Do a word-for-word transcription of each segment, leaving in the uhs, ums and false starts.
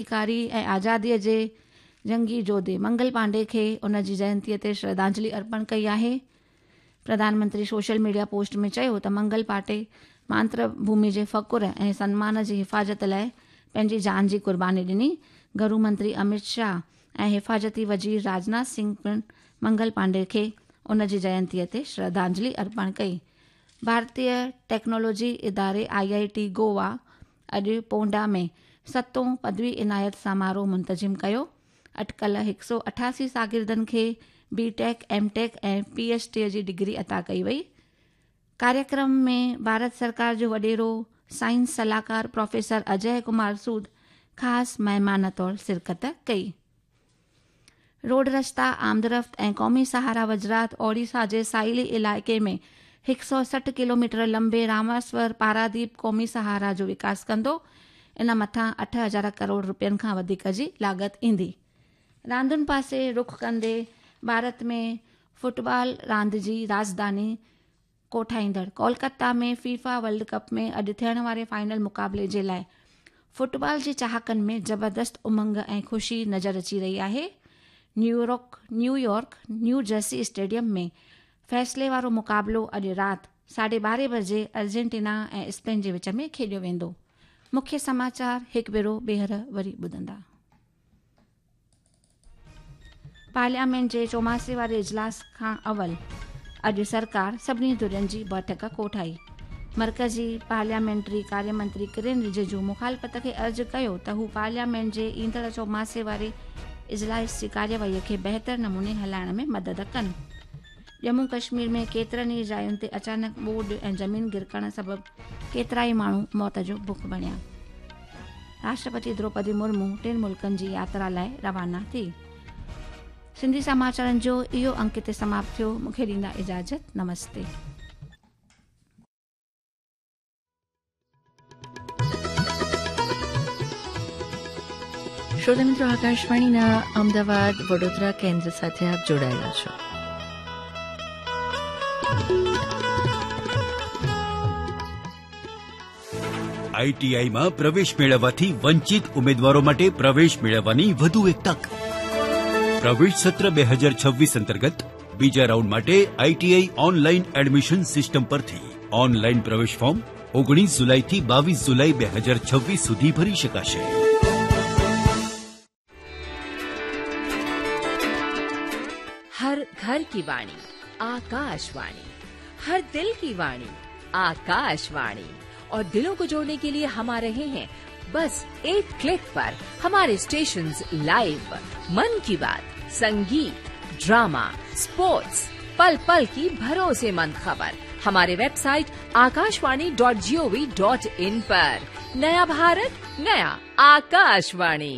ڪرانتيڪاري ۽ آزاديءَ جي جنگي جوڌي منگل پانڊي کي ان جي جينتيءَ تي شرڌانجلي ارپڻ ڪئي آهي. Pradhan Mantri social media post ۾ چيو ته منگل پانڊي ماتر ڀومي جي فخر ۽ سنمان جي حفاظت لاءِ پنهنجي جان جي قرباني ڏني. گهرو منتري امت شاهه ۽ حفاظتي وزير راجناٿ سنگهه پڻ منگل پانڊي کي ان جي جينتيءَ تي شرڌانجلي ارپڻ ڪئي. ڀارتيه ٽيڪنالاجي اداري I I ٽي گوا اڄ پونڊا ۾ ستون پدوي عنايت سماروهه منتظم ڪيو. اٽڪل هڪ سؤ اٺاسي شاگردن کي B Tech, M Tech ۽ P H D جي ڊگري عطا ڪئي وئي. ڪاريڪرم ۾ ڀارت سرڪار جو وڏيرو سائنس صلاحڪار پروفيسر اجي ڪمار سود خاص مهمان طور شرڪت ڪئي. روڊ رستا، آمدرفت ۽ قومي سهارا وزارت اوڊيشا جي ساحلي علائقي ۾ هڪ سؤ سٺ ڪلوميٽر لمبي راميشور پاراديپ قومي سهارا جو وڪاس ڪندو. ان مٿان اٺ هزار ڪروڙ رپين کان وڌيڪ جي لاڳت ايندي. راندن پاسي رخ ڪندي ڀارت ۾ فٽبال راند جي راڄڌاني ڪوٺائيندڙ ڪولڪتا ۾ فيفا ورلڊ ڪپ ۾ اڄ ٿيڻ واري فائنل مقابلي جي لاءِ فٽبال جي چاهڪن ۾ زبردست امنگ ۽ خوشي نظر اچي رهي آهي. New York New York New Jersey stadium ۾ فيصلي وارو مقابلو اڄ رات ساڍي ٻارهين بجي ارجنٽينا ۽ اسپين جي وچ ۾ کيڏيو ويندو. مکيه سماچار هڪ ڀيرو ٻيهر وري ٻڌندا. پارليامينٽ جي چوماسي واري اجلاس کان اول اڄ سرڪار سڀني ڌرين جي بيٺڪ ڪوٺائي. مرڪزي پارليامينٽري ڪاريه منتري ڪرن رجيجو مخالفت کي عرض ڪيو ته هو پارليامينٽ جي ايندڙ چوماسي واري اجلاس جي ڪاريواهيءَ کي بهتر نموني هلائڻ ۾ مدد ڪن. ڄمون ڪشمير ۾ ڪيترن ئي جاين تي اچانڪ ٻوڏ ۽ زمين گرڪڻ سبب ڪيترائي ماڻهو موت جو بک بڻيا. راشٽرپتي دروپدي مرمو ٽن ملڪن جي ياترا لاءِ روانا ٿي. سنڌي سماچارن جو اهو انڪ هتي سماپت ٿيو. مون کي ڏيندا اجازت. نمستي. શ્રોતા મિત્રો, આકાશવાણીના અમદાવાદ વડોદરા કેન્દ્ર સાથે આપ જોડાયેલા છો. આઈટીઆઈમાં પ્રવેશ મેળવવાથી વંચિત ઉમેદવારો માટે પ્રવેશ મેળવવાની વધુ એક તક. પ્રવેશ સત્ર બે હજાર છવ્વીસ અંતર્ગત બીજા રાઉન્ડ માટે આઈટીઆઈ ઓનલાઈન એડમિશન સિસ્ટમ પરથી ઓનલાઈન પ્રવેશ ફોર્મ ઓગણીસ જુલાઈથી બાવીસ જુલાઈ બે હજાર છવ્વીસ સુધી ભરી શકાશે. हर घर की वाणी आकाशवाणी, हर दिल की वाणी आकाशवाणी। और दिलों को जोड़ने के लिए हम आ रहे हैं बस एक क्लिक पर। हमारे स्टेशंस लाइव, मन की बात, संगीत, ड्रामा, स्पोर्ट्स, पल पल की भरोसेमंद खबर हमारे website Akashvani dot G O V dot in पर। नया भारत, नया आकाशवाणी।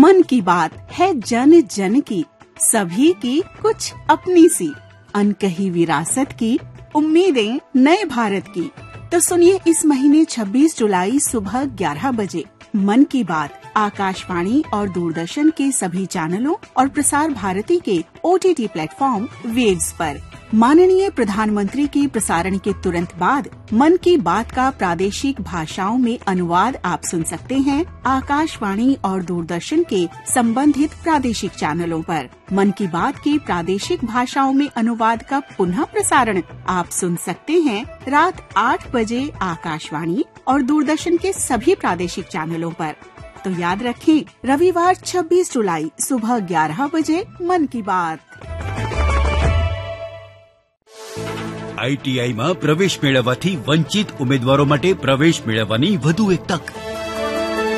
मन की बात है जन जन की, सभी की कुछ अपनी सी अनकही विरासत की उम्मीदें नए भारत की। तो सुनिए इस महीने छब्बीस जुलाई सुबह ग्यारह बजे मन की बात आकाशवाणी और दूरदर्शन के सभी चैनलों और प्रसार भारती के O T T platform waves पर। माननीय प्रधानमंत्री के प्रसारण के तुरंत बाद मन की बात का प्रादेशिक भाषाओं में अनुवाद आप सुन सकते हैं आकाशवाणी और दूरदर्शन के संबंधित प्रादेशिक चैनलों पर। मन की बात के प्रादेशिक भाषाओं में अनुवाद का पुनः प्रसारण आप सुन सकते हैं रात आठ बजे आकाशवाणी और दूरदर्शन के सभी प्रादेशिक चैनलों पर। तो याद रखें, रविवार छब्बीस जुलाई सुबह ग्यारह बजे मन की बात। આઈટીઆઈમાં પ્રવેશ મેળવવાથી વંચિત ઉમેદવારો માટે પ્રવેશ મેળવવાની વધુ એક તક.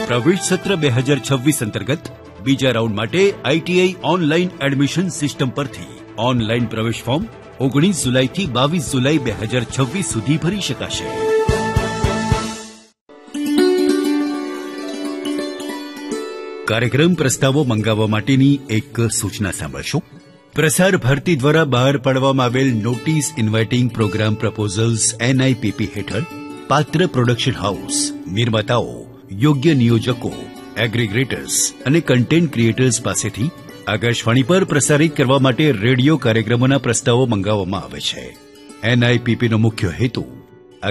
પ્રવેશ સત્ર બે હજાર છવ્વીસ અંતર્ગત બીજા રાઉન્ડ માટે આઈટીઆઈ ઓનલાઈન એડમિશન સિસ્ટમ પરથી ઓનલાઈન પ્રવેશ ફોર્મ ઓગણીસ જુલાઈથી બાવીસ જુલાઈ બે હજાર છવ્વીસ સુધી ભરી શકાશે. કાર્યક્રમ પ્રસ્તાવો મંગાવવા માટેની એક સૂચના સાંભળશો. પ્રસાર ભારતી દ્વારા બહાર પાડવામાં આવેલ notice inviting programme proposals NIPP હેઠળ પાત્ર પ્રોડક્શન હાઉસ, નિર્માતાઓ, યોગ્ય નિયોજકો, એગ્રીગ્રેટર્સ અને કન્ટેન્ટ ક્રિએટર્સ પાસેથી આકાશવાણી પર પ્રસારિત કરવા માટે રેડિયો કાર્યક્રમોના પ્રસ્તાવો મંગાવવામાં આવે છે. એનઆઈપીપીનો મુખ્ય હેતુ